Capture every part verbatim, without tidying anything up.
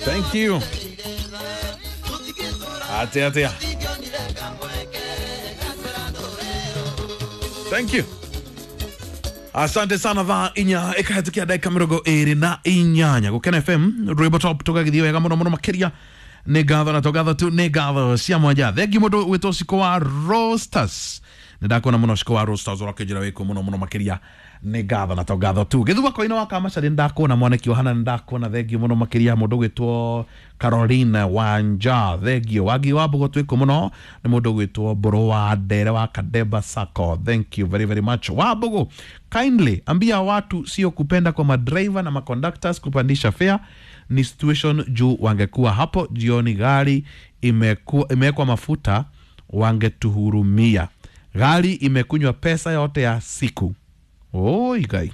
Thank you. Atia atia. Thank you. Asante sana thaa inya ikahätũkia ndagĩka mĩrongo ĩrĩ na inyanya Gũkena F M rwĩmbo top tũgagĩthiĩ wega mũno mũno makĩria. Nĩ ngatho na tũgatho tu, nĩ ngatho cia mwanja. Thengi mũndũ wĩtwo Ciko wa Rosters, nĩ ndakuona mũno Ciko wa Rosters, ũrakĩnjĩra wĩkũ mũno mũno makĩria. Nĩ ngatho na tũgatho tu. Gĩthua koina wa Kamacarĩ, nĩ ndakuona. Mwaneki wa Hana, nĩ ndakuona, thengi mũno makĩria. Mũndũ ũgwĩtwo Caroline Wanja, thengio. Wangi wa Mbũgũ, twĩkũ mũno. Nĩ mũndũ ũgwĩtwo Mbũrũ wa Ndere wa Kadeba Sacco, thank you very very much. Wa Mbũgũ, kindly ambia watu sio kupenda kwa madriver na maconductors kupandisha fare, ni situation juu wangekuwa hapo jioni gari imekuwa imewekwa mafuta wangetuhurumia. Gari imekunywa pesa yote ya siku. Oi gai,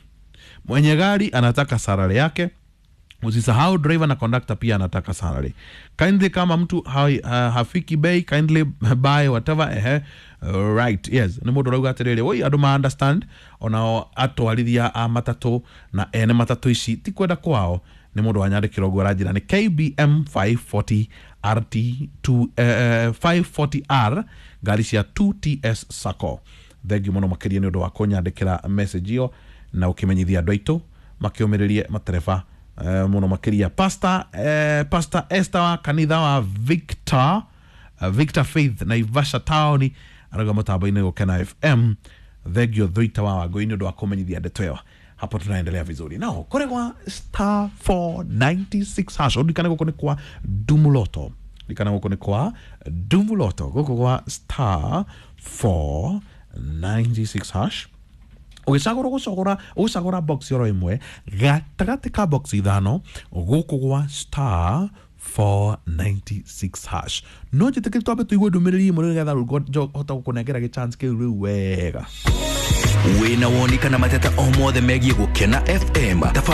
mwenye gari anataka salary yake. Usisahau driver na conductor pia anataka salary. Kindly, kama mtu ha, ha, hafiki bei, kindly buy whatever. Ehe, right, yes, nĩ mũndũ ũrauga atĩrĩrĩ, woi, andũ ma understand onao atwarithia a matatũ na ene matatũ ici ti kwenda kwao. Nĩ mũndũ wanyandĩkĩra ũguo, aranjĩra nĩ K B M five forty R T two, eh, five forty R, ngari cia two T S Sacco. Thengiũ mũno makĩria nĩ ũndũ wa kũnyandĩkĩra message ĩyo na ũkĩmenyithia andũ aitũ makĩũmĩrĩrie matereba eh, mũno makĩria. Pastor, eh, Pastor Esther wa kanitha wa Victor uh, Victor Faith Naivasha Town arauga mũtambo-inĩ Gũkena F M. Thengio Thuita wa Wangũi nĩ ũndũ wa kũmenyithia ndeto ĩyo. Hapo tunaendelea vizuri nao kũrĩ gwa star four ninety-six hash. Ũririkane gũkũ nĩ kwa Dumuloto, ririkana gũkũ nĩ kwa Dumuloto, gũkũ gwa star four ninety-six hash. Ũgĩcagũra, ũgũcagũra ũgũcagũra box oro ĩmwe gatagatĩ ka box ithano gũkũ gwa star four ninety-six hash. No njĩtĩkĩri twambe tũigue ndũmĩrĩri ĩmwe nĩgetha rĩu hota gũkũnengera gĩchance kĩu rĩu wega. Wĩna woni kana mateta o mothe megiĩ Gũkena F M.